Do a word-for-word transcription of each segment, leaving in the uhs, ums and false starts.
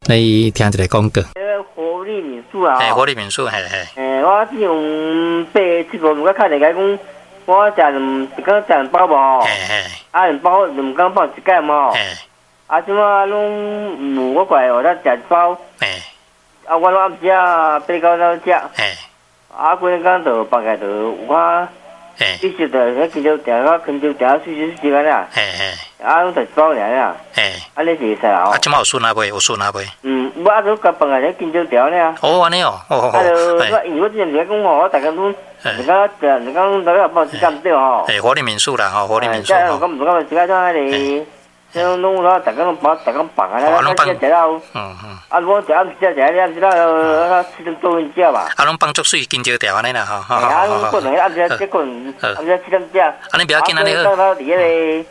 來聽一个廣告。活力民宿啊！嘿，活力民宿，嘿嘿。欸，我之前八七五，我敲電話講，我食兩一工食兩包無？嘿嘿。啊，兩包兩工放一蓋無？嘿。啊，這馬攏無我過來，我才食一包。嘿。啊，我攏暗時啊八九點食。嘿。啊，規工就放開就有較。嘿。你食著，迄香蕉定啊，香蕉定啊，水水時間啦。嘿嘿。啊，攏食一包爾啦。嘿。按呢是會使啊？啊，這馬有順啊未？有順啊未？嗯，我啊都共放下咧香蕉條爾。哦，按呢哦，哦哦。啊，就我因為我之前是講吼，我逐工攏，一工食，一工大概放時間對吼。嘿，活力民宿啦，吼，活力民宿。吼。我毋感覺時間怎彼個，這攏攏我逐工攏放，逐工放啊，攏放。食了。嗯嗯。啊，我食暗時食，食暗時了，七點多鐘食吧。啊，攏放足媠香蕉條按呢啦，吼。啊，攏過兩個暗時，這個暗時七點食。啊，你不要緊，按呢好。到佇彼個。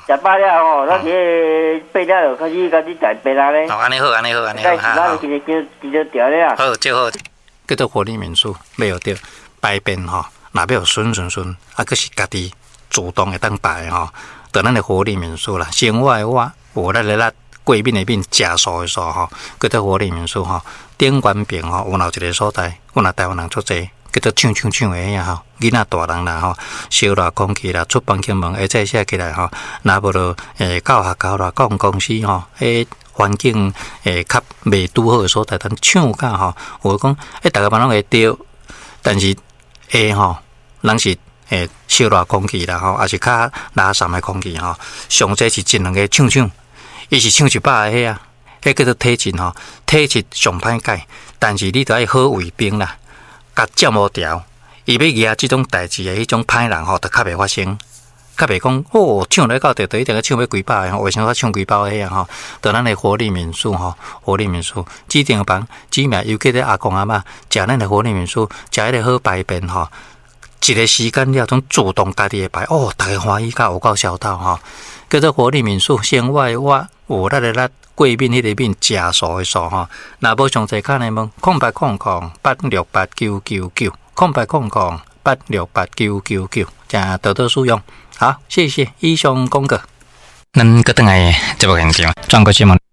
食飽了吼，咱佇个八點就開始開始食白啦咧。哦，按呢好，按呢好，按呢好，好。好，最好。叫做活力民宿，欲著排便吼，若欲順順順，啊，閣是家己主動會當排吼，就咱的活力民宿啦。生活的活，有力的力，過敏的敏，食素的素吼，叫做活力民宿吼。頂懸爿吼，有若有一个所在，阮若台灣人足濟。叫做唱唱唱的遐吼，囡仔大人啦吼，燒熱空氣啦，出房間門會使寫起來吼，若無就欸到學校啦，到公司吼，彼環境會較袂拄好的所在，通唱甲吼，有講欸，逐个嘛攏會著，但是會吼，人是會燒熱空氣啦吼，抑是較垃圾的空氣吼，上濟是一兩个唱唱，伊是唱一百个彼啊，彼叫做體質吼，體質上歹改，但是你著愛好衛兵啦。共佔無牢，伊欲惹這種代誌的彼種歹人吼，就較袂發生，較袂講哦，唱來到著，就一定愛唱欲幾百个，為啥我唱幾百個遐吼？就咱的活力民宿吼，活力民宿，指定房，指名尤其咧阿公阿嬤，食咱的活力民宿，食彼个好排便吼，一个時間了，總自動家己會排，哦，逐家歡喜甲有夠痟透吼，叫做活力民宿，生活的活，有力的力。過敏彼個敏，食素的素吼，若無詳細敲來問，空八空空八六八九九九，空八空空八六八九九九，請多多使用。好，謝謝以上廣告。咱閣轉來節目現場，轉過新聞。